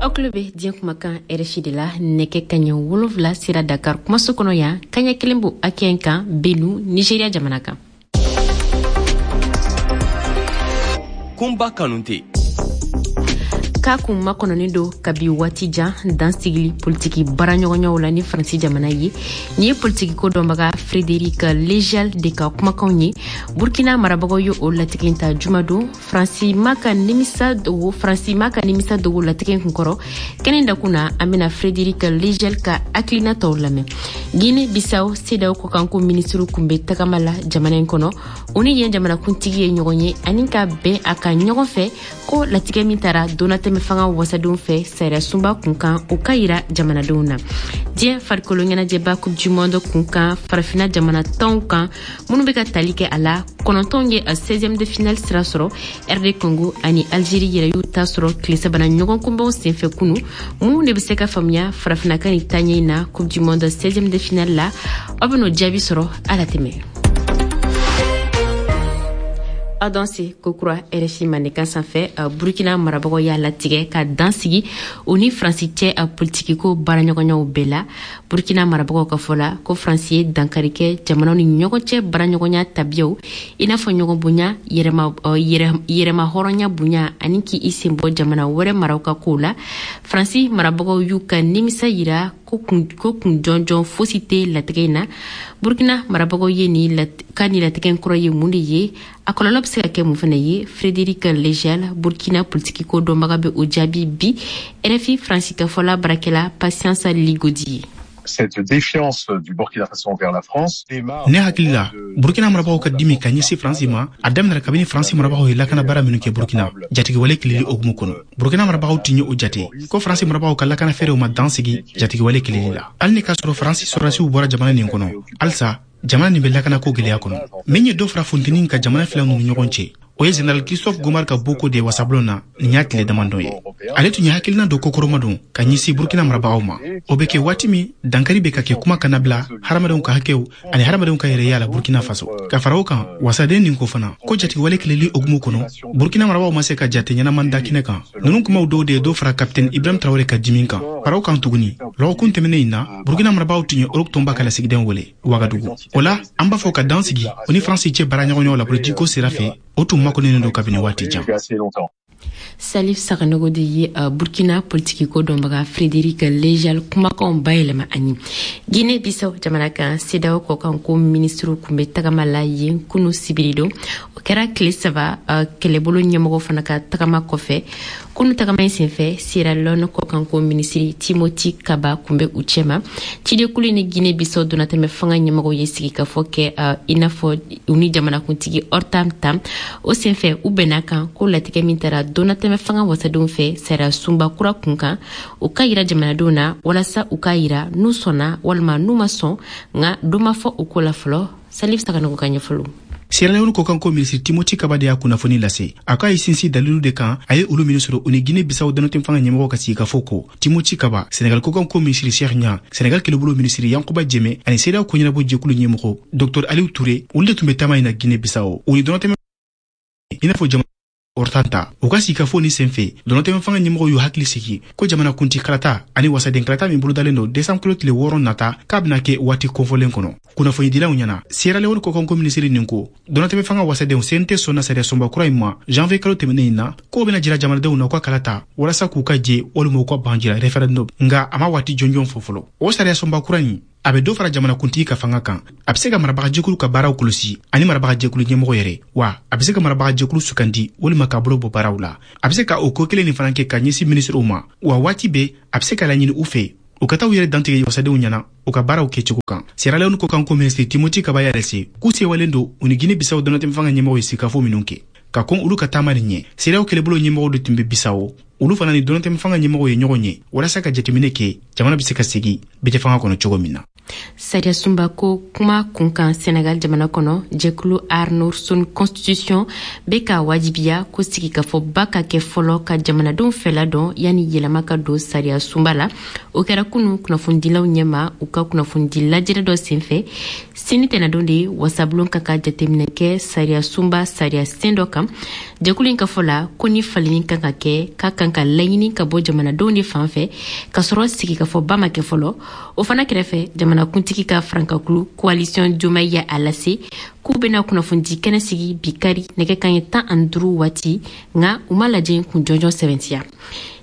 Aw tulo bɛ diɲɛ kumakan RFI de la. Nɛgɛ kaɲɛ 7 sera Dakar kumaso kɔnɔ yan, kaɲɛ 1 b'o hakɛ in kan Benu, Nigeria jamana kan. Kunba Kanute. K'a kun makɔnɔnin don kabi waati jan dan sigili politiki baaraɲɔgɔnyaw la ni Faransi jamana ye. Nin ye politikiko dɔnbaga Frédéric Lejeal de ka kumakanw ye. Burkina marabagaw ye o latigɛ ta jumadon. Faransi ma ka nimisa dogo, Faransi ma ka nimisa dogo latigɛ kunkɔrɔ. Kɛnɛ dakun na, an bɛna Frédéric Lejeal ka hakilina tɔw lamɛn. Guinée Bissau CEDEAO kɔkanko minisiriw kun bɛ tagama la jamana in kɔnɔ. U ni yen jamanakuntigi ye ɲɔgɔn ye ani ka bɛn a kan ɲɔgɔn fɛ ko latigɛ min tara donnatɛmɛ fanga wasadenw fɛ sariya sunba kun kan, o ka yira jamanadenw na. Diɲɛ farikolo ɲɛnajɛba Coupe du Monde kun kan, farafina jamana 10 kan minnu bɛ ka tali kɛ a la, 9 ye a 16e de finale sira sɔrɔ. RD Congo ani Algérie yɛrɛ y'u ta sɔrɔ tile sabanan ɲɔgɔn kunbɛnw senfɛ kunu. Mun de bɛ se ka faamuya farafinna ka nin taaɲɛ in na Coupe du Monde 16e de finale la? Aw bɛ n'o jaabi sɔrɔ a la tɛmɛ. Aw danse kokura RFI mandenkan sanfɛ. Burkina marabagaw y'a latigɛ ka dan sigi u ni Faransi cɛ a politikiko baaraɲɔgɔnyaw bɛɛ la. Burkina marabagaw ka fɔ la ko Faransi ye dankari kɛ jamanaw ni ɲɔgɔn cɛ baaraɲɔgɔnya tabiyaw, i n'a fɔ ɲɔgɔn bonya, yɛrɛma hɔrɔnya bonya ani k'i sen bɔ jamana wɛrɛ maraw ka kow la. Faransi marabagaw y'u ka nimisa yira ko kun jɔnjɔn fosi tɛ latigɛ in na. Burkina marabagaw ye ni ka nin latigɛ in kɔrɔ ye mun de ye? A kɔlɔlɔ bɛ se ka kɛ mun fana ye? Frédéric Lejeal, Burkina politikiko dɔnbaga, bɛ o jaabi bi RFI Faransi ka fɔla baarakɛla Patience Ligodi ye. Cette défiance du Burkina Faso envers la France démarre. Ne hakili la, Burkina marabagaw ka dimi ka ɲɛsin Faransi ma, a daminɛra kabini Faransi marabagaw ye lakana baara minnu kɛ Burkina jatigɛwale kɛlɛli hukumu kɔnɔ. Burkina marabagaw tun ye o jate ko Faransi marabagaw ka lakana fɛɛrɛw ma dan sigi jatigɛwale kɛlɛli la. Hali ni k'a sɔrɔ Faransi sɔrɔdasiw bɔra jamana nin kɔnɔ, halisa jamana nin bɛ lakanako gwɛlɛya kɔnɔ. Min ye dɔ fara funteni ka jamana fila ninnu ɲɔgɔn cɛ, o ye général Christophe Gomar ka bɔko de ye wasabulon na nin y'a tile damadɔ ye. Ale tun ye hakilina dɔ kɔkɔrɔma don ka ɲɛsin Burkina marabagaw ma. O bɛ kɛ waati min dankari bɛ ka kɛ kuma kana bila hadamadenw ka hakɛw ani hadamadenw ka yɛrɛya la Burkina Faso. Ka fara o kan, wasaden nin ko fana ko jatigɛwale kɛlɛli hukumu kɔnɔ, Burkina marabagaw ma se ka jate ɲɛnaman da kɛnɛ kan. Ninnu kumaw dɔw de ye dɔ fara capitaine Ibrahim Traoré ka dimi kan. Fara o kan tuguni, lɔgɔkun tɛmɛnen in na, Burkina marabagaw tun ye Europe tɔnba ka lasigidenw wele Wagadugu. O la, an b'a fɔ ka dan sigi o ni Faransi cɛ baaraɲɔgɔnyaw la politikiko sira fɛ, o tun makɔnɔnen don kabini waati jan. Salif Saganogo de ye Burkina politikiko dɔnbaga Frédéric Lejeal kumakanw bayɛlɛma an ye. Guinée Bissau jamana kan, CEDEAO kɔkanko minisiriw kun bɛ tagama la yen kunu sibiri don. O kɛra tile 3 kɛlɛbolo ɲɛmɔgɔ fana ka tagama kɔfɛ. Kunu tagama in senfɛ, Sierra Leone kɔkanko minisiri Timothy Kaba kun bɛ u cɛma. Cidekulu ni Guinée Bissau donnatɛmɛ fanga ɲɛmɔgɔw ye sigikafɔ kɛ, i n'a fɔ u ni jamanakuntigi Horta Tam. O senfɛ, u bɛnna kan ko latigɛ min taara donnatɛmɛ fanga wasadenw fɛ sariya sunba kura kun kan, o ka yira jamanadenw na walasa u k'a yira n'u sɔnna walima n'u ma sɔn. Nka dɔ ma fɔ o ko la fɔlɔ. Salif Saganogo ka ɲɛfɔliw. Sierra Leone kɔkanko minisiri Timothy Kaba de y'a kunnafoni lase. A k'a ye sinsin dalilu de kan a ye olu minnu sɔrɔ u ni Guinée Bissau donnatɛmɛ fanga ɲɛmɔgɔ ka sigikafɔ kɔ. Timothy Kaba, Senegal kɔkanko minisiri Cheikh Niang, Senegal kɛlɛbolo minisiri Yankuba Jeme ani CEDEAO koɲɛnabɔ jɛkulu ɲɛmɔgɔ Dr Aliou Touré, olu de tun bɛ taama in na Guinée Bissau. U ni donnatɛmɛ i n'a fɔ jamana Horta, u ka sigikafɔ ni senfɛ, donnatɛmɛ fanga ɲɛmɔgɔw y'u hakili sigi ko jamana kunti kalata ani wasaden kalata min bolodalen don desanburu kalo tile 6 nata, k'a bɛna kɛ waati kofɔlen kɔnɔ. Kunnafonidilaw ɲɛna, Sierra Leone kɔkanko minisiri nin ko donnatɛmɛ fanga wasadenw CNT sɔnna sariya sunba kura in ma janvier kalo tɛmɛnen in na, k'o bɛna jira jamanadenw na u ka kalata walasa k'u ka jɛ walima u ka ban jira référendum. Nka a ma waati jɔnjɔn fɔ fɔlɔ. O sariya sunba kura in, a bɛ dɔ fara jamanakuntigi ka fanga kan, a bɛ se ka marabagajɛkulu ka baaraw kɔlɔsi ani marabagajɛkulu ɲɛmɔgɔ yɛrɛ, wa a bɛ se ka marabagajɛkulu sugandi walima k'a bolo bɔ baaraw la. A bɛ se ka o ko kelen nin fana kɛ ka ɲɛsin minisiriw ma, wa waati bɛɛ a bɛ se ka laɲini u fɛ u ka taa u yɛrɛ dantigɛ wasadenw ɲɛna u ka baaraw kɛcogo kan. Sierra Leone kɔkanko minisiri Timothy Kaba y'a lase k'u sewalen don u ni Guinée Bissau donnatɛmɛ fanga ɲɛmɔgɔw ye sigikafɔ minnu kɛ ka kɔn olu ka taama nin ɲɛ. CEDEAO kɛlɛbolo ɲɛmɔgɔw de tun bɛ Bissau. Olu fana ni donnatɛmɛ fanga ɲɛmɔgɔw ye ɲɔgɔn ye walasa ka jateminɛ kɛ jamana bɛ se ka segin bɛɛ fanga kɔnɔ cogo min na. Sariya sunba ko kuma kunkan, Senegal jamana kɔnɔ, jɛkulu Aar Sunu Constitution bɛ ka wajibiya ko sigikafɔba ka kɛ fɔlɔ ka jamanadenw fɛla dɔn yanni yɛlɛma ka don sariya sunba la. O kɛra kunu kunnafonidilaw ɲɛma, u ka kunnafonidi lajɛrɛ dɔ senfɛ. Sini tɛnɛdon de wasabulon ka ka jateminɛ kɛ sariya sunba sariya sen dɔ kan. Jɛkulu in ka fɔ la, ko ni falenni kan ka kɛ, k'a kan ka laɲini ka bɔ jamanadenw de fan fɛ, k'a sɔrɔ sigikafɔba ma kɛ fɔlɔ. O fana kɛrɛfɛ, jamanakuntigi ka farankakulu Coalition Diomaye ye a lase k'u bɛna kunnafonidi kɛnɛ sigi bi kari nɛgɛ kaɲɛ 15 waati, nka u ma lajɛ kun jɔnjɔn sɛbɛntiya.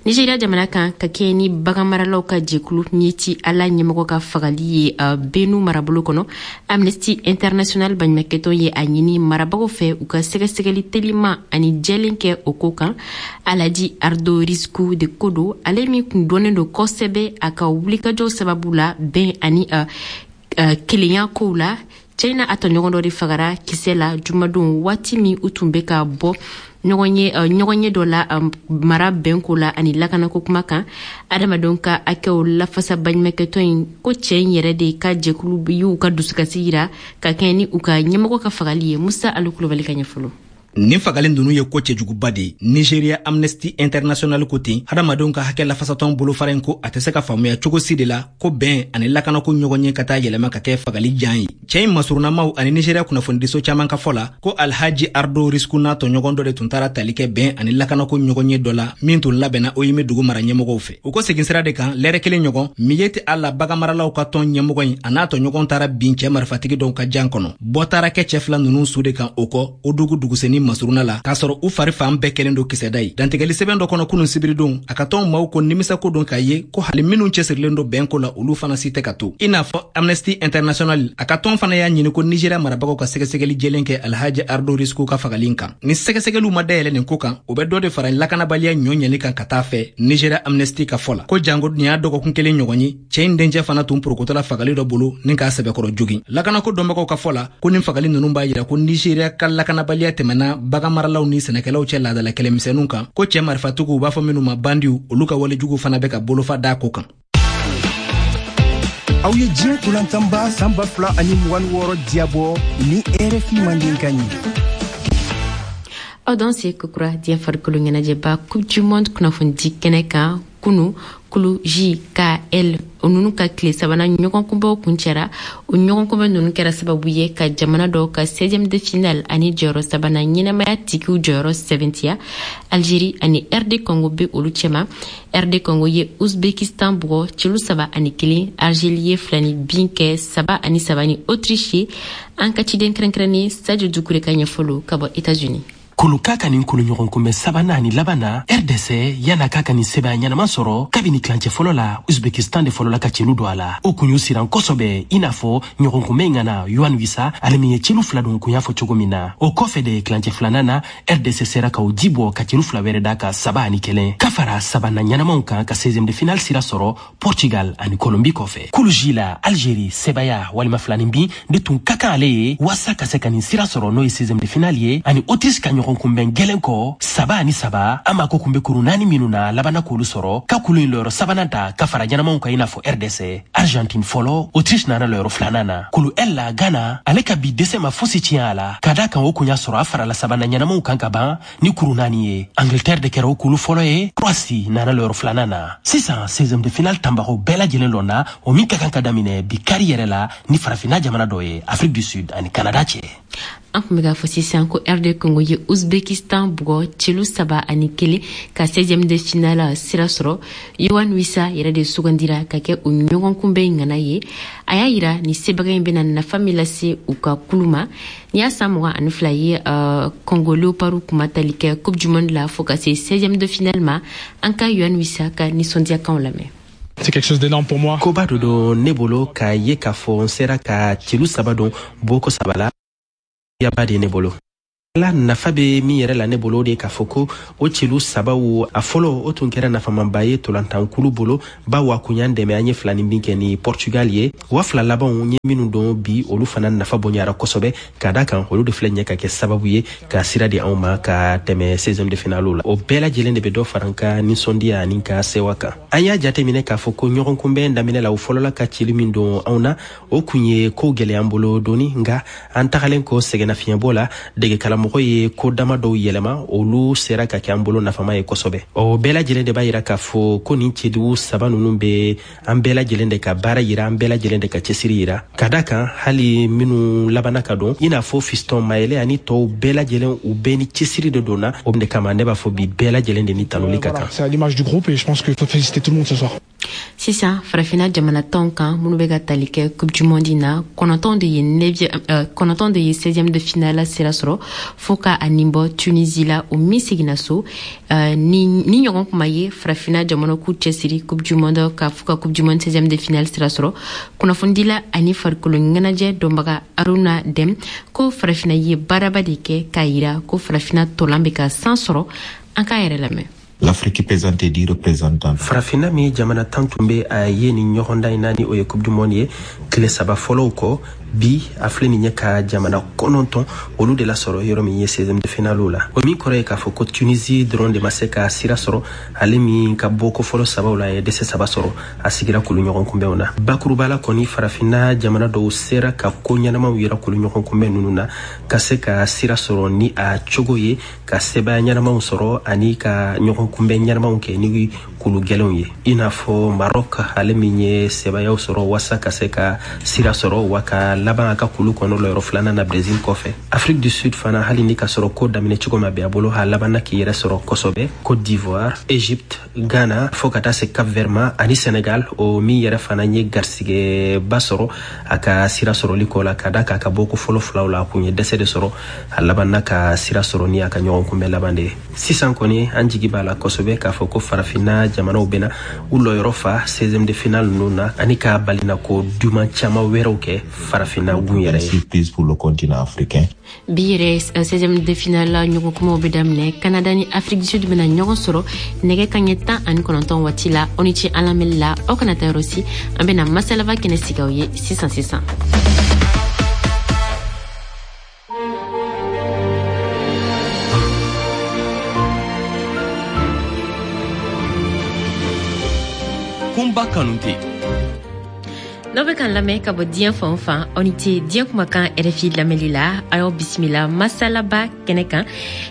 Nigeria jamana kan, ka kɛɲɛ ni baganmaralaw ka jɛkulu Miyetti Allah ɲɛmɔgɔ ka fagali ye Benue marabolo kɔnɔ, Amnesty International baɲumakɛtɔn ye a ɲini marabagaw fɛ u ka sɛgɛsɛgɛli teliman ani jɛlen kɛ o ko kan. Alhaji Ardo Risku de ko don, ale min kun dɔnnen don kosɛbɛ a ka wulikajɔw sababu la bɛn ani kelenya kow la. Cɛ n'a tɔɲɔgɔn dɔ de fagara kisɛ la jumadon, waati min u tun bɛ ka bɔ ɲɔgɔn ye dɔ la mara bɛnko la ani lakanako kuma kan. Adamadenw ka hakɛw lafasa baɲumakɛtɔn in ko cɛ in yɛrɛ de ka jɛkulu y'u ka dusukasi yira ka kɛɲɛ ni u ka ɲɛmɔgɔ ka fagali ye. Musa Alu Kulubali ka ɲɛfɔlɔ. Nin fagali ninnu ye ko cɛjuguba de ye. Nigeria Amnesty International ko ten. Hadamadenw ka hakɛ lafasatɔn bolofara in ko a tɛ se ka faamuya cogo si de la ko bɛn ani lakanako ɲɔgɔn ye ka taa yɛlɛma ka kɛ fagali jan ye. Cɛɛ in masurunamaw ani Nigeria kunnafonidiso caaman ka fɔ la, ko Alhaji Ardo Risku n'a tɔɲɔgɔn dɔ de tun taara tali kɛ bɛn ani lakanako ɲɔgɔn ye dɔ la min tun labɛnna Oyime dugu mara ɲɛmɔgɔw fɛ. U ko segin sira de kan, lɛrɛ kelen ɲɔgɔn, Miyetti Allah baganmaralaw ka tɔn ɲɛmɔgɔ in a n'a tɔɲɔgɔn taara bin cɛɛ marifatigi dɔw ka jan kɔnɔ. Bɔ taara kɛ cɛɛ fila ninnu su de kan o kɔ o dugu dugusenni masuruna la, k'a sɔrɔ u fari fan bɛɛ kɛlen don kisɛda ye. Dantigɛli sɛbɛn dɔ kɔnɔ kunun sibiridon, a ka tɔn maaw ko nimisako don k'a ye ko hali minw cɛsirilen don bɛnko la, olu fana si tɛ ka to. I n'a fɔ Amnesty International, a ka tɔn fana y'a ɲini ko Nigéria marabagaw ka sɛgɛsɛgɛli jɛlen kɛ Alhaji Ardo Risku ka fagali kan. Ni sɛgɛsɛgɛliw ma dayɛlɛ nin ko kan, o bɛ dɔ de fara lakanabaliya ɲɔ ɲɛli kan ka taa fɛ, Nigéria Amnesty ka fɔ la. Ko jango nin y'a dɔgɔkun kelen ɲɔgɔn ye, cɛɛ in dencɛ fana tun porokotɔla fagali dɔ bolo ni k'a sɛbɛkɔrɔ jogin. Lakanako dɔnbagaw ka fɔ la, ko nin fagali ninnu b'a yira ko Nigéria ka lakanabaliya tɛmɛna baganmaralaw ni sɛnɛkɛlaw cɛ laadala kɛlɛmisɛnninw kan, ko cɛɛ marifatigiw, u b'a fɔ minnu ma bandiw, olu ka walejuguw fana bɛ ka bolofa da ko kan. Aw ye diɲɛ tolantanba san 2026 diyabɔ ni RFI Mandenkan ye. Aw dan se kokura diɲɛ farikolo ɲɛnajɛba Coupe du Monde kunnafonidi kɛnɛ kan. Kunu, kulu J, K, L ninnu ka tile sabanan ɲɔgɔnkunbɛw kuncɛra. O ɲɔgɔnkunbɛ ninnu kɛra sababu ye ka jamana dɔw ka 16e de finale ani jɔyɔrɔ sabanan ɲɛnamaya tigiw jɔyɔrɔ sɛbɛntiya. Algérie ani RD Congo bɛ olu cɛma. RD Congo ye Uzbekistan bugɔ celu 3-1. Algérie ye filani bin kɛ 3-3 ni Autriche ye. An ka ciden kɛrɛnkɛrɛnnen Sadio Dukure ka ɲɛfɔlo ka bɔ États-Unis. Kulu K ka nin kulu ɲɔgɔn kunbɛn sabanan ani laban na, RDC yan'a k'a ka nin sɛbɛn ɲɛnama sɔrɔ kabini tilancɛ fɔlɔ la, Uzbekistan de fɔlɔla ka celu don a la. O kun y'u siran kosɛbɛ, i n'a fɔ ɲɔgɔn kunbɛn ŋana Yoane Wissa, ale min ye celu fila don kun y'a fɔ cogo min na. O kɔfɛ de, tilancɛ filanan na, RDC sera ka o ji bɔ ka celu fila wɛrɛ da ka 3-1, ka fara sabanan ɲɛnamaw kan ka 16e de finale sira sɔrɔ Portugal ani Colombie kɔfɛ. Kulu J la, Algérie sebaya walima filanin bin de tun ka kan ale ye waasa ka se ka nin sira sɔrɔ, n'o ye 16e de finale ye. Ani Autriche ka ɲɔgɔn kunbɛn gɛlɛn kɔ 3-3, an mako kun bɛ kuru naani minnu na, labanna k'olu sɔrɔ ka kulu in lɔyɔrɔ sabanan ta ka fara ɲɛnamaw kan, i n'a fɔ RDC. Argentine fɔlɔ, Autriche nana lɔyɔrɔ filanan na. Kulu L la, Ghana ale ka bi dɛsɛ ma fosi tiɲɛ a la, ka da kan o kun y'a sɔrɔ a farala sabanan ɲɛnamaw kan ka ban ni kuru naani ye. Angleterre de kɛra o kulu fɔlɔ ye, Croatie nana lɔyɔrɔ filanan na. Sisan 16e de finale tanbagaw bɛɛ lajɛlen lɔnna, o min ka kan ka daminɛ bi kari yɛrɛ la ni farafinna jamana dɔ ye, Afrique du Sud ani Canada cɛ. An tun bɛ k'a fɔ sisan ko RD Congo ye Uzbekistan bugɔ celu 3-1 ka 16e de finale sira sɔrɔ. Yoane Wissa yɛrɛ de sugandira ka kɛ o ɲɔgɔn kunbɛn ŋana ye. A y'a yira ni sebaga in bɛna nafa min lase u ka kulu ma. Ni y'a san 22 ye, Congo Léopard kuma tali kɛ Coupe du Monde la fo ka se 16e de finale ma. An ka Yoane Wissa ka nisɔndiyakanw lamɛn. C'est quelque chose d'énorme pour moi. Koba dɔ don ne bolo k'a ye k'a fɔ n sera ka celu saba don bɔko saba la, yaba de ne bolo. La nafa bɛ min yɛrɛ la ne bolo, o de ye k'a fɔ ko o celu sabaw, a fɔlɔ, o tun kɛra nafamanba ye tolantankulu bolo, bawo a kun y'an dɛmɛ an ye fila ni min kɛ ni Portugal ye. Wa fila labanw ye minnu don bi, olu fana nafa bonyara kosɛbɛ, ka da kan olu de filɛ ɲɛ ka kɛ sababu ye ka sira di anw ma ka tɛmɛ 16e de finale la. O bɛɛ lajɛlen de bɛ dɔ fara n ka nisɔndiya ani ka sewa kan. An y'a jateminɛ k'a fɔ ko ɲɔgɔn kunbɛn daminɛ la, u fɔlɔla ka cili min don anw na, o kun ye ko gɛlɛya an bolo dɔɔni. Nka an tagalen kɔ sɛgɛnnafiɲɛbɔ la, degekaramɔgɔ ye ko dama dɔw yɛlɛma, olu sera ka kɛ an bolo nafama ye kosɛbɛ. O bɛɛ lajɛlen de b'a yira k'a fɔ ko nin cɛdugu saba ninnu bɛ an bɛɛ lajɛlen de ka baara yira, an bɛɛ lajɛlen de ka cɛsiri yira, ka da kan hali minnu labanna ka don, i n'a fɔ Fiston Mayele ani tɔw bɛɛ lajɛlen, u bɛɛ ni cɛsiri de donna. O de kama ne b'a fɔ bi, bɛɛ lajɛlen de ni tanuli ka kan. C'est à l'image du groupe et je pense qu'il faut féliciter tout le monde ce soir. Sisan, Farafina jamana tɔnw kan minnu bɛ ka tali kɛ Coupe du monde na, 9 de ye 9 de ye 16e de finale sira sɔrɔ, fo ka a nin bɔ Tunisie la, o min seginna so. Ni ɲɔgɔn kuma ye Farafina jamana k'u cɛsiri Coupe du monde ka fo ka Coupe du monde 16e de finale sira sɔrɔ. Kunnafonidila ani farikolo ɲɛnajɛ dɔnbaga Aruna Dem ko Farafina ye baaraba de kɛ k'a yira ko Farafina tɔlan bɛ ka san sɔrɔ. An k'a yɛrɛ lamɛn. L'Afrique présentait 10 représentants. Farafinna min jamana 10 tun bɛ a ye nin ɲɔgɔndan in na, ni o ye Coupe du monde ye, tile 3 fɔlɔw kɔ, bi a filɛ nin ye ka jamana 9 olu de lasɔrɔ yɔrɔ min ye 16e de finale la. O min kɔrɔ ye k'a fɔ ko Tunisie dɔrɔn de ma se ka sira sɔrɔ. Ale min ka bɔ ko fɔlɔ sabaw la, a ye dɛsɛ saba sɔrɔ, a sigira kulu ɲɔgɔn kunbɛnw na. Bakuruba la kɔni, Farafinna jamana dɔw sera ka ko ɲɛnamaw yira kulu ɲɔgɔn kunbɛn ninnu na, ka se ka sira sɔrɔ ni a cogo ye, ka sebaya ɲɛnamaw sɔrɔ ani ka ɲɔgɔn kunbɛn ɲɛnamaw kɛ ni kulu gɛlɛnw ye, i n'a fɔ Maroc, ale min ye sebayaw sɔrɔ wasa ka se ka sira sɔrɔ wa ka laban a ka kulu kɔnɔ lɔyɔrɔ filanan na Brésil kɔfɛ. Afrique du Sud fana, hali ni ka sɔrɔ ko daminɛ cogo ma bɛn a bolo, a labanna k'i yɛrɛ sɔrɔ kosɛbɛ. Côte d'Ivoire, Égypte, Ghana, fo ka taa se Cap Vert ma ani Sénégal, o min yɛrɛ fana ye garisigɛba sɔrɔ a ka sira sɔrɔli kɔ la, ka da k'a ka bɔ ko fɔlɔ filaw la, a kun ye dɛsɛ de sɔrɔ, a labanna ka sira sɔrɔ ni a ka ɲɔgɔn kunbɛn laban de ye. Sisan kɔni, an jigi b'a la kosɛbɛ k'a fɔ ko Farafinna jamanaw bɛna u lɔyɔrɔ fa 16e de finale ninnu na, ani ka balina ko duman caman wɛrɛw kɛ Farafinna gun yɛrɛ ye. Surprise pour le continent africain. Bi yɛrɛ, 16e de finale ɲɔgɔn kumaw bɛ daminɛ. Canada ni Afrique du Sud bɛna ɲɔgɔn sɔrɔ nɛgɛ kaɲɛ 19 waati la. Aw ni ce an lamɛnli la, aw kana taa yɔrɔ si, an bɛna masalaba kɛnɛ sigi aw ye sisan sisan. Kunba Kanute. N'aw bɛ k'an lamɛn ka bɔ diɲɛ fan o fan, aw ni ce diɲɛ kumakan RFI lamɛnli la. A y'aw bisimila masalaba kɛnɛ kan.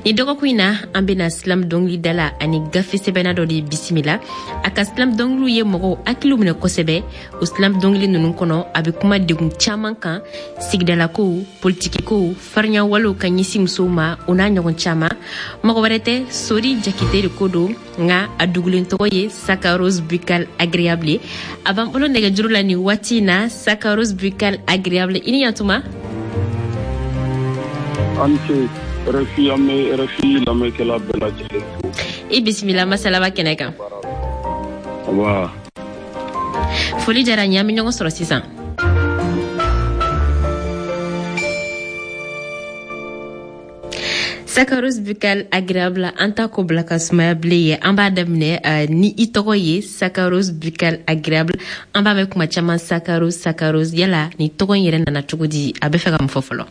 Ni dɔgɔkun in na, an bɛna slam dɔnkilidala ani gafe sɛbɛnna dɔ de bisimila. A ka slam dɔnkiliw ye mɔgɔw hakiliw minɛ kosɛbɛ. O slam dɔnkili ninnu kɔnɔ, a bɛ kuma degun caman kan, sigidalakow, politikikow, farinyawalew ka ɲɛsin musow ma, o n'a ɲɔgɔn caman. Mɔgɔ wɛrɛ tɛ, Sori Jakite de ko don, nka a dugulen tɔgɔ ye Saccharose Buccal Agréable. A b'an bolo nɛgɛjuru la nin waati in na. Saccharose Buccal Agréable, i ni yantuma. An ce RFI, an bɛ RFI lamɛnkɛla bɛɛ lajɛlen fo. I bisimila masalaba kɛnɛ kan. Wa foli diyara n ye, an bɛ ɲɔgɔn sɔrɔ sisan. Saccharose Buccal Agréable, an ta ko bila ka sumaya bilen ye. An b'a daminɛ ni i tɔgɔ ye Saccharose Buccal Agréable. An b'a mɛn kuma caman, Saccharose, Saccharose. Yala ni tɔgɔ in yɛrɛ nana cogo di? A bɛ fɛ ka mun fɔ fɔlɔ?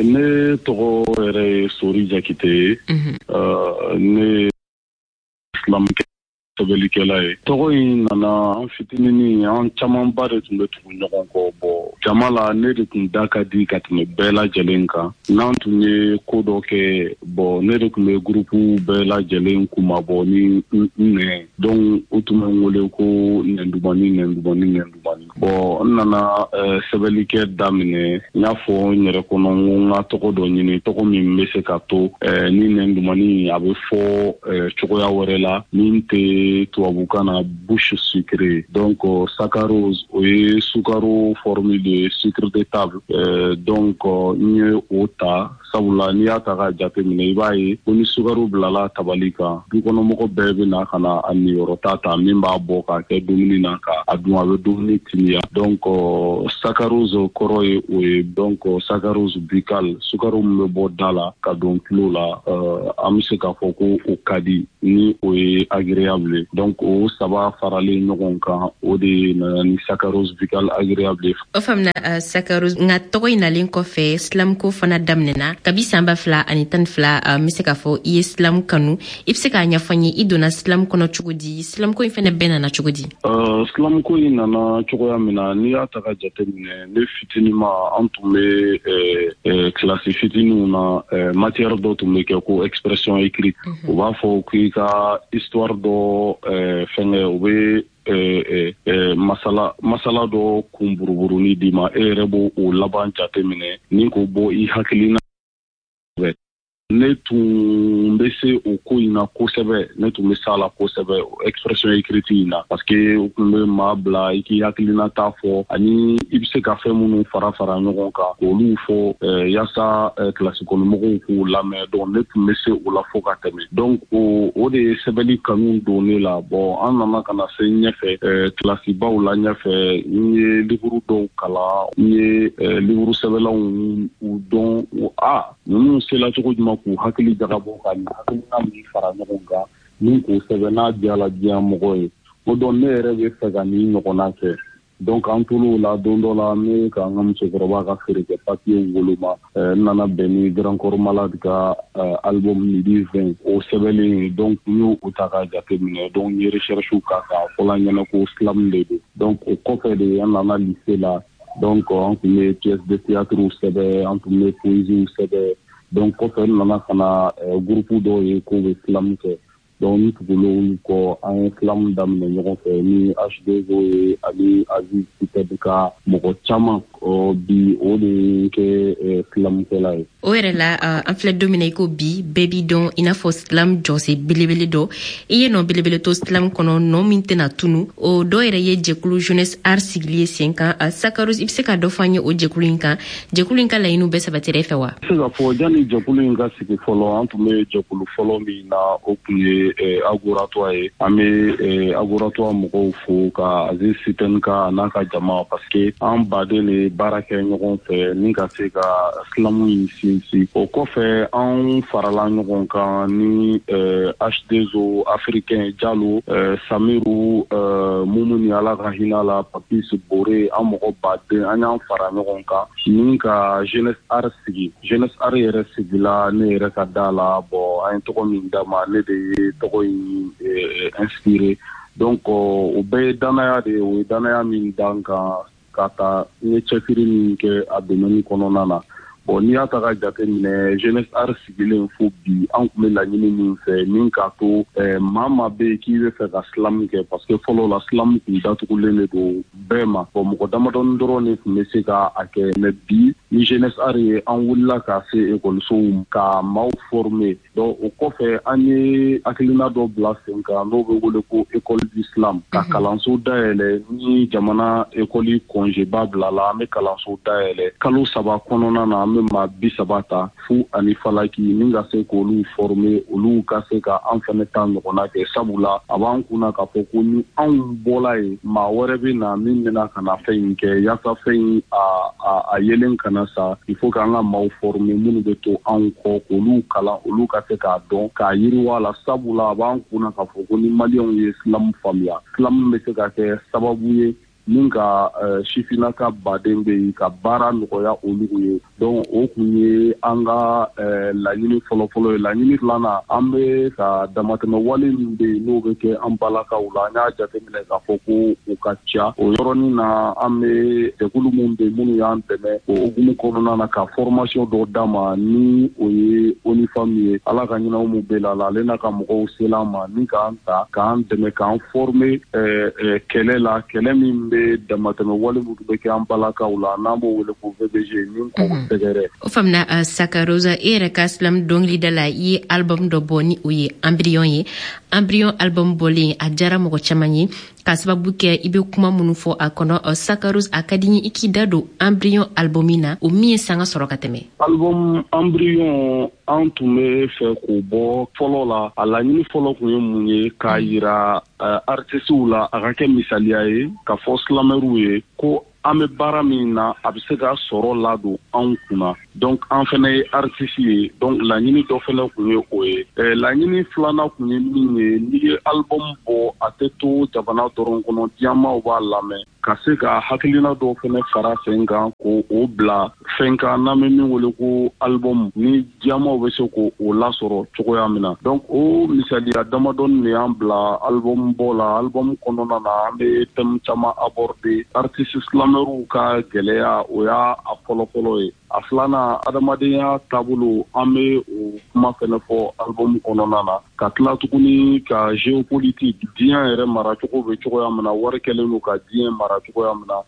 Ne tɔgɔ yɛrɛ ye Sori Jakite ye. Ne slam sɛbɛnnikɛla ye. Tɔgɔ in nana an fitininin, an camanba de tun bɛ tugu ɲɔgɔn kɔ. Bɔn, jama la, ne de tun da ka di ka tɛmɛ bɛɛ lajɛlen kan. N'an tun ye ko dɔ kɛ, bɔn, ne de tun bɛ gurupu bɛɛ lajɛlen kunmabɔ ni n nɛn. Donc u tun bɛ n wele ko nɛndumani, nɛndumani, nɛndumani. Bɔn, n nana sɛbɛnnikɛ daminɛ, n y'a fɔ n yɛrɛ kɔnɔ n ko n ka tɔgɔ dɔ ɲini, tɔgɔ min bɛ se ka to ni nɛndumani a bɛ fɔ cogoya wɛrɛ la min tɛ tubabukan na bouche sucrée. Donc saccharose, o ye sukaro formule de sucre de table. Donc n ye o ta, sabula n'i y'a ta k'a jateminɛ, i b'a ye ko ni sukaro bilala tabali kan, dukɔnɔmɔgɔ bɛɛ bɛ na ka na a niyɔrɔ ta ta min b'a bɔ k'a kɛ dumuni na ka A dun, a bɛ dumuni timiya. Donc saccharose kɔrɔ ye o ye. Donc saccharose buccal, sukaro min bɛ bɔ da la ka don tulo la, an bɛ se k'a fɔ ko o ka di, ni o ye agréable. Donc o saba faralen ɲɔgɔn kan, o de nana ni saccharose buccal agréable ye. O faamuna, saccharose. Nka tɔgɔ in nalen kɔfɛ, slam ko fana daminɛna kabi san 2012. N bɛ se k'a fɔ i ye slam kanu. I bɛ se k'a ɲɛfɔ n ye, i donna slam kɔnɔ cogo di? Slam ko in fɛnɛ bɛɛ nana cogo di? Slam ko in nana cogoya min na, n'i y'a ta ka jateminɛ, ne fitinima, an tun bɛ kilasi fitininw na, matière dɔ tun bɛ kɛ ko expression écrite. U b'a fɔ k'i ka histoire dɔ fɛngɛ, u bɛ masala masala dɔ kun buruburuni d'i ma, e yɛrɛ b'o o laban jate minɛ ni k'o bɔ i hakilina. Ne tun bɛ se o ko in na kosɛbɛ, ne tun bɛ s'a la kosɛbɛ, expression écrite in na, parce que u tun bɛ maa bila i k'i hakilina ta fɔ, ani i bɛ se ka fɛn minnu fara fara ɲɔgɔn kan k'olu fɔ yaasa kilasi kɔnɔmɔgɔw k'u lamɛn. Donc ne tun bɛ se o la fo ka tɛmɛ. Donc o de ye sɛbɛnni kanu don ne la. Bon, an nana ka na se ɲɛfɛ, kilasibaw la ɲɛfɛ, n ye livre dɔw kalan, n ye livre sɛbɛnlanw u dɔn a ninnu sela cogo jumɛn k'u hakili jagabɔ ka nin hakilina min fara ɲɔgɔn kan ni k'o sɛbɛn n'a diyala diɲɛ mɔgɔ ye. O donc ne yɛrɛ bɛ fɛ ka nin ɲɔgɔnna kɛ. Donc an tor'o la. Don dɔ la, ne ka n ka musokɔrɔba ka feere kɛ papiyew woloma, n nana bɛn ni Grand Corps Malade ka album Midi 20 o sɛbɛnlen ye. Donc n y'o ta k'a jateminɛ. Donc n ye recherche k'a kan, a fɔla n ɲɛna ko slam de don. Donc o kɔfɛ de, an nana lycée la. Donc an tun bɛ pièce de théâtre sɛbɛn, an tun bɛ poésie sɛbɛn. Donc kɔfɛ, n nana ka na groupe dɔw ye k'o bɛ slam kɛ. Donc n tugula olu kɔ, an ye slam daminɛ ɲɔgɔn fɛ ni H2O ye ani Aziz Sitɛbi ka mɔgɔ caman. Bi, o de ye kɛ slamkɛla ye. O yɛrɛ la, an filɛ don min na i ko bi, bɛɛ b'i dɔn i n'a fɔ slam jɔsen belebele dɔ. I ye nɔ belebele to slam kɔnɔ, nɔ min tɛna tunu. O dɔ yɛrɛ ye jɛkulu Jeunesse Art sigili ye sen kan. Saccharose, i bɛ se ka dɔ fɔ an ye o jɛkulu in kan? Jɛkulu in ka laɲiniw bɛɛ sabatira i fɛ wa? Se ka fɔ, janni jɛkulu in ka sigi fɔlɔ, an tun bɛ jɛkulu fɔlɔ min na, o tun ye Agoratoi ye. An bɛ Agoratoi mɔgɔw fo, ka Aziz Sitɛni ka n'a ka jama, parce que an baden de baara kɛ ɲɔgɔn fɛ ni ka se ka slam in sinsin. O kɔfɛ, an farala ɲɔgɔn kan ni H2O africain, Jalo, Samiru, Mumuni, Ala ka hinɛ la, Papis Bore, an mɔgɔ baden, an y'an fara ɲɔgɔn kan ni ka Jeunesse Art sigi. Jeunesse Art yɛrɛ sigila ne yɛrɛ ka da la. Bon, an ye tɔgɔ min d'a ma, ne de ye tɔgɔ in inspiré. Donc o bɛɛ ye danaya de ye, o ye danaya min d'an kan ka taa n ye cɛsiri min kɛ a domaine kɔnɔna na. Bon, n'i y'a ta ka jate minɛ, Jeunesse Art sigilen fo bi, an tun bɛ laɲini min fɛ ni k'a to maa maa bɛ yen k'i bɛ fɛ ka slam kɛ, parce que fɔlɔ la, slam tun datugulen de don bɛɛ ma. Bon, mɔgɔ damadɔni dɔrɔn de tun bɛ se ka a kɛ. Mais bi, ni Jeunesse Art ye, an wulila ka se ekɔlisow ka maaw former. Donc o kɔfɛ, an ye hakilina dɔ bila sen kan n'o bɛ wele ko école du slam, ka kalanso dayɛlɛ. Ni jamana ekɔli congé ba bila la, an bɛ kalanso dayɛlɛ kalo 3 kɔnɔna na, an bɛ maa 30 ta fu ani falaki ni ka se k'olu former, olu ka se ka an fɛnɛ ta ɲɔgɔnna kɛ. Sabula a b'an kunna k'a fɔ ko ni anw bɔla yen, maa wɛrɛ bɛ na min bɛna ka na fɛn in kɛ. Yaasa fɛn in a yelen kana sa, il faut k'an ka maaw former minnu bɛ to anw kɔ, k'olu kalan, olu ka se k'a dɔn k'a yiriwa la. Sabula a b'an kunna k'a fɔ ko ni Maliyɛnw ye slam faamuya, slam bɛ se ka kɛ sababu ye min ka sifinnaka baden bɛ yen ka baara nɔgɔya olu ye. Donc o kun ye an ka laɲini fɔlɔfɔlɔ ye. Laɲini filanan, an bɛ ka damatɛmɛ wale min bɛ yen n'o bɛ kɛ an balakaw la, an y'a jateminɛ k'a fɔ ko o ka ca. O yɔrɔnin na, an bɛ jɛkulu minnu bɛ yen minnu y'an dɛmɛ o hukumu kɔnɔna na ka formation dɔ d'a ma, ni o ye ONU Femmes ye, Ala ka ɲinɛw mu bɛɛ la, ale n'a ka mɔgɔw sela an ma ni k'an ta k'an dɛmɛ k'an former kɛlɛ la, kɛlɛ min bɛ damatɛmɛ wale minnu bɛ kɛ an balakaw la, n'an b'o wele ko VBG, ni k'o sɛgɛrɛ. O faamuna. Saccharose, e yɛrɛ ka slam dɔnkilida la, i ye album dɔ bɔ ni o ye Embryon ye. Embryon album bɔlen, a diyara mɔgɔ caman ye. K'a sababu kɛ i bɛ kuma minnu fɔ a kɔnɔ, Sakarose, a ka di n ye i k'i da don Embryon album na, o min ye sanga sɔrɔ ka tɛmɛ. Album Embryon, an tun bɛ fɛ k'o bɔ fɔlɔ la. A laɲini fɔlɔ tun ye mun ye? K'a yira artisiw la, a ka kɛ misaliya ye ka fɔ slamɛriw ye ko an bɛ baara min na, a bɛ se ka sɔrɔ ladon anw kunna. Donc an fana ye artiste ye. Donc laɲini dɔ fana tun ye o ye. Laɲini filanan tun ye min ye, n'i ye album bɔ, a tɛ to jamana dɔrɔn kɔnɔ, diɲɛmaaw b'a lamɛn, ka se ka hakilina dɔw fana fara sen kan ko o bila fɛn kan n'an bɛ min wele ko album, ni diɲɛmaaw bɛ se k'o lasɔrɔ cogoya min na. Donc o misaliya damadɔni de y'an bila album bɔ la. Album kɔnɔna na, an bɛ thème caman aborder. Artiste slamɛriw ka gɛlɛya, o y'a a fɔlɔfɔlɔ ye. A filanan, adamadenya taabolo, an bɛ o kuma fɛnɛ fɔ album kɔnɔna na. Ka tila tuguni ka géopolitique, diɲɛ yɛrɛ maracogo bɛ cogoya min na, wari kɛlen don ka diɲɛ mara cogoya min na,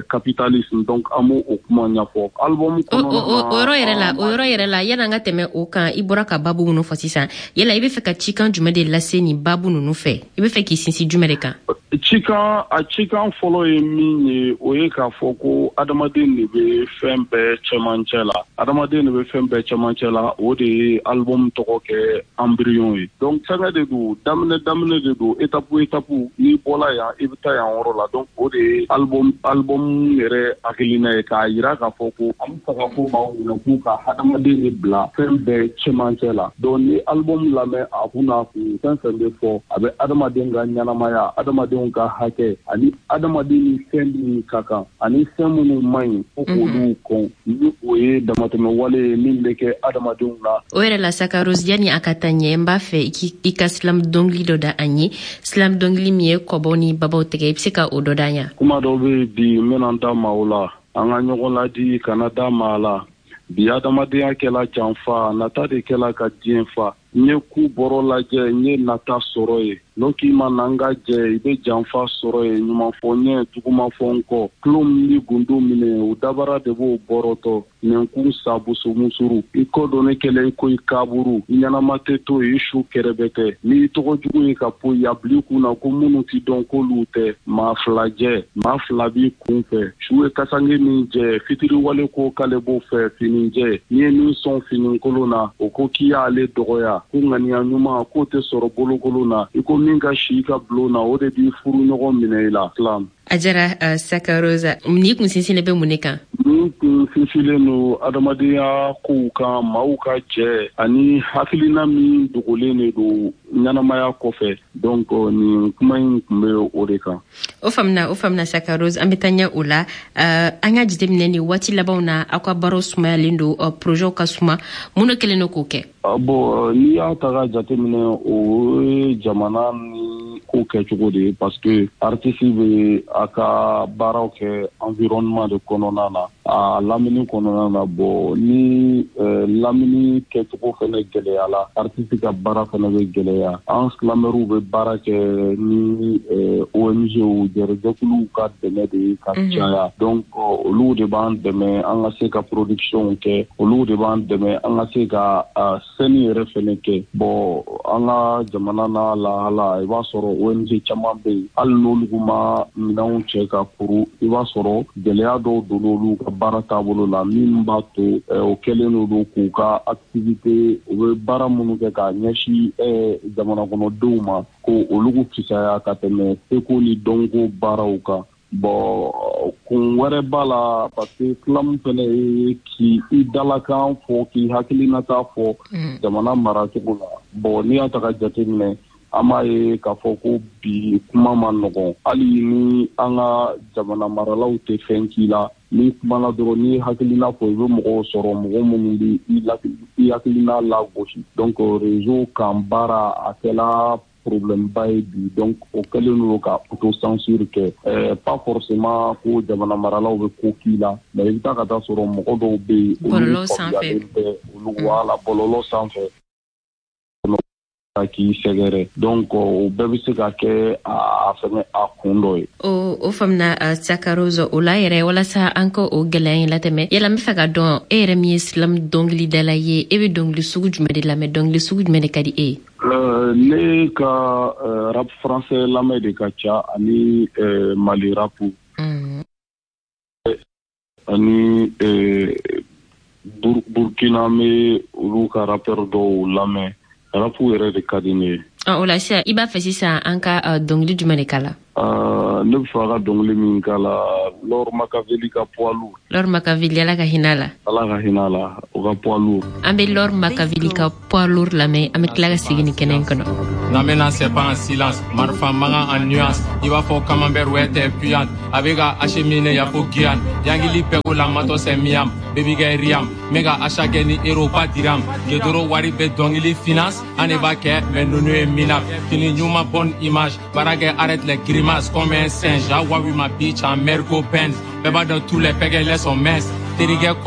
capitalisme, donc an b'o o kuma ɲɛfɔ album kɔnɔna na. O yɔrɔ yɛrɛ la, o yɔrɔ yɛrɛ la, yan'an ka tɛmɛ o kan, i bɔra ka babu minnu fɔ sisan, yala i bɛ fɛ ka cikan jumɛn de lase nin babu ninnu fɛ? I bɛ fɛ k'i sinsin jumɛn de kan? Cikan, a cikan fɔlɔ ye min ye, o ye k'a fɔ ko adamaden de bɛ fɛn bɛɛ cɛmancɛ la, adamaden de bɛ fɛn bɛɛ cɛmancɛ la. O de ye album tɔgɔ kɛ Embryon ye. Donc fɛnkɛ de don, daminɛ daminɛ de don, étape étape, n'i bɔla yan, i bɛ taa yan yɔrɔ la. Donc o de ye album yɛrɛ hakilina ye, k'a yira k'a fɔ ko an bɛ fɛ ka ko maaw ɲɛna k'u ka hadamaden de bila fɛn bɛɛ cɛmancɛ la. Donc ni album lamɛn, a kun n'a kun, fɛn fɛn bɛ fɔ, a bɛ adamaden ka ɲɛnamaya, adamadenw ka hakɛ, ani adamaden ni fɛn min ka kan, ani fɛn minnu man ɲi, ko k'olu kɔn, ni o ye damatɛmɛ wale ye min bɛ kɛ adamadenw na. O yɛrɛ la, Sakarose, yanni a ka taa ɲɛ, n b'a fɛ i ka slam dɔnkili dɔ da an ye, slam dɔnkili min ye kɔbɔw ni babaw tigɛ. I bɛ se ka o dɔ da an ye? Kuma dɔw bɛ bi, n bɛna n da maaw la, an ka ɲɔgɔn ladi, kana da maa la. Bi adamadenya kɛla janfa, nata de kɛla ka diɲɛ fa. N ye ku bɔrɔ lajɛ, n ye nata sɔrɔ ye. N'o k'i ma na n ka jɛ, i bɛ janfa sɔrɔ ye. Ɲuman fɔ ɲɛ, juguman fɔ n kɔ, tulo min bɛ gundo minɛ, o dabara de b'o bɔrɔtɔ. Nɛnkun sabuso musuru, i kɔ don ne kɛlɛ i ko i kaburu, i ɲɛnama tɛ to yen, i su kɛrɛbɛ tɛ. N'i tɔgɔ jugu ye ka poyi, a bil'i kun na ko minnu t'i dɔn k'olu tɛ. Maa fila jɛ, maa fila b'i kun fɛ. Su ye kasange min jɛ, fitiriwale ko k'ale b'o fɛ. Fini jɛ, n'i ye min sɔn finikolon na, o ko k'i y'ale dɔgɔya, ko ŋaniya ɲuman k'o tɛ sɔrɔ bolokolon na. I ko min ka si i ka bulon na, o de b'i furu ɲɔgɔn minɛ i la. Slam. A jara, Sakarose. Ni kun sinsinlen bɛ mun de kan? Ni kun sinsinlen don adamadenya kow kan, maaw ka jɛ, ani hakilina min dogolen de don ɲɛnamaya kɔfɛ. Donc nin kuma in tun bɛ o de kan. O faamuna, o faamuna, Sakarose. An bɛ taa ɲɛ o la. An ka jateminɛ, nin waati labanw na, aw ka baaraw sumayalen don, projet ka suma. Mun de kɛlen don k'o kɛ? Bon, n'i y'a ta ka jateminɛ, o ye jamana ni ko kɛcogo de ye, parce que artiste bɛ a ka baaraw kɛ environnement de kɔnɔna na, a lamini kɔnɔna na. Bon, ni lamini kɛcogo fɛnɛ gɛlɛyala, artiste ka baara fɛnɛ bɛ gɛlɛya. An slamɛriw bɛ baara kɛ ni ONG, jɛrɛjɛkuluw ka dɛmɛ de ye ka caya. Donc olu de b'an dɛmɛ an ka se ka production kɛ, olu de b'an dɛmɛ an ka se ka scène yɛrɛ fɛnɛ kɛ. Bon, an ka jamana n'a lahala, i b'a sɔrɔ ONG caman bɛ yen, hali n'olu ma minɛnw cɛ ka kuru, i b'a sɔrɔ gɛlɛya dɔw donn'olu ka baara taabolo la, min b'a to o kɛlen don k'u ka activité, u bɛ baara minnu kɛ k'a ɲɛsin jamana kɔnɔdenw ma, ko olu fisaya ka tɛmɛ seko ni dɔnko baaraw kan. Bon, kun wɛrɛ b'a la, parce que slam fɛnɛ ye k'i i dalakan fɔ, k'i hakilinata fɔ jamana maracogo la. Bon, n'i y'a ta ka jateminɛ, an b'a ye k'a fɔ ko bi kuma ma nɔgɔn. Hali ni an ka jamana maralaw tɛ fɛn k'i la, n'i kumana dɔrɔn, n'i hakilina fɔ, i bɛ mɔgɔw sɔrɔ, mɔgɔ minnu bɛ i hakilina lagosi. Donc réseau kan baara, a kɛla problème ba ye bi. Donc o kɛlen don ka autocensure kɛ. Pas forcément ko jamana maralaw bɛ ko k'i la, mais i bɛ taa ka taa sɔrɔ mɔgɔ dɔw bɛ yen, olu faamuyalen tɛ olu, wala bɔlɔlɔ sanfɛ k'i sɛgɛrɛ. Donc o bɛɛ bɛ se ka kɛ a fɛngɛ, a kun dɔ ye. O faamuna, Sakarose. O la yɛrɛ, walasa an ka o gɛlɛya in latɛmɛ, yala n bɛ fɛ ka dɔn, e yɛrɛ min ye slam dɔnkilidala ye, e bɛ dɔnkili sugu jumɛn de lamɛn? Dɔnkili sugu jumɛn de ka di e ye? Ne ka rap français lamɛn de ka ca ani Mali rap ani Burkina, n bɛ olu ka rappeur dɔw lamɛn. Rap yɛrɛ de ka di ne ye. O la sisan, i b'a fɛ sisan an ka dɔnkili jumɛn de k'a la? Ne bɛ fɛ a ka dɔnkili min k'a la, Laure Makaveli ka Poids lourd. Laure Makaveli, Ala ka hinɛ a la. Ala ka hinɛ a la, o ka Poids lourd. An bɛ Laure Makaveli ka Poids lourd lamɛn, an bɛ tila ka segin nin kɛnɛ in kɔnɔ. Namena, c'est pas en silence, marifa mankan en nuance. I b'a fɔ camembert, ouais, t'es puante. A bɛ ka acheminer ya fo Guyane. Yangili pɛko la matɔ, c'est miam. Baby kɛ riam. N bɛ ka achat kɛ ni euro, pas dirham. Gedoro wari bɛ dɔnkili finance. An de b'a kɛ, mais ninnu ye minable. Fini ɲuman, bonne image. Baara kɛ, arrête les grimaces comme un singe. Awa, oui, ma bitch en Merco Benz. Bɛɛ b'a dɔn, tous les pɛgɛlɛ sont minces. Terikɛ.